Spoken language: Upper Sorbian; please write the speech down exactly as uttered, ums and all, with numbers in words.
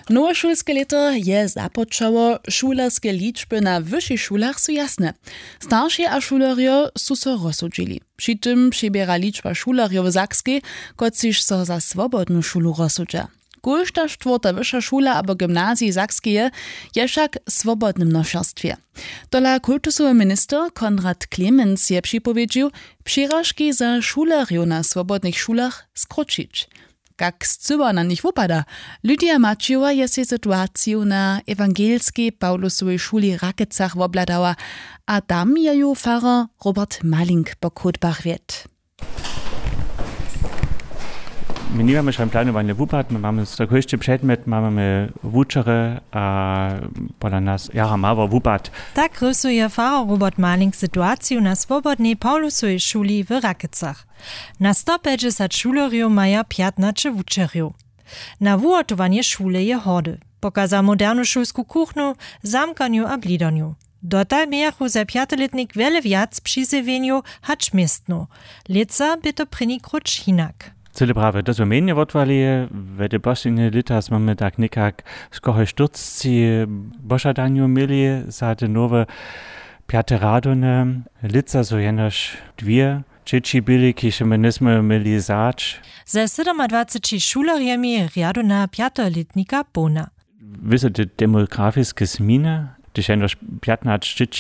Nowe šulske lěto je započało. Šulerske ličby na wyšich šulach su jasne. Staršej a šulerjo su so rozsudźili. Při tym přiběra ličba šulerjow w Sakskej, kotřiž so za swobodnu šulu rozsudźa. Kóžda štwórta wyša šula abo gymnazij Sakskeje je wšak w swobodnym nošerstwje. Tola kultusowy minister Konrad Clemens je připowědźił, přiražki za šulerjow na swobodnych šulach skróćić. Kak scyła na nich wupada? Lydia Maćijowa je sej situaciju na ewangelskej Pawlusowej šuli w Rakecach wobhladała, a tam je ju farar Robert Malink po chódbach wjedł. My nimamy šań planowanje wupad, my mamy za kóždy předmjet mamy wučerje, a pola nas jara mało wupad. Tak rysuje farar Robert Malink situaciju na swobodnej Pawlusowej šuli w Rakecach. Na sto pjećdźesat šulerjow maja pjatnaće wučerjow. Na wuhotowanje šule je hordy, pokaza modernu šulsku kuchnu, zamkanju a blidarnju. Dotal mějachu za pjatolětnik wjele wjac přizjewjenjow hač městnow. Lětsa bě to prěni króć hinak. Cyle prawje, to su mjenje wotwali. We te poslednje lěta smy my tak někak skoro štyrcci požadanjow měli za te nowe pjate rjadowne. Lětsa su jenož dwě dźěći byli, kiž my njejsmy měli wzać. Ze sydomadwaceći šulerjemi rjadowna pjatolětnika połna. Wězo te demografiske změny, hdyž jenož pjatnaće dźěći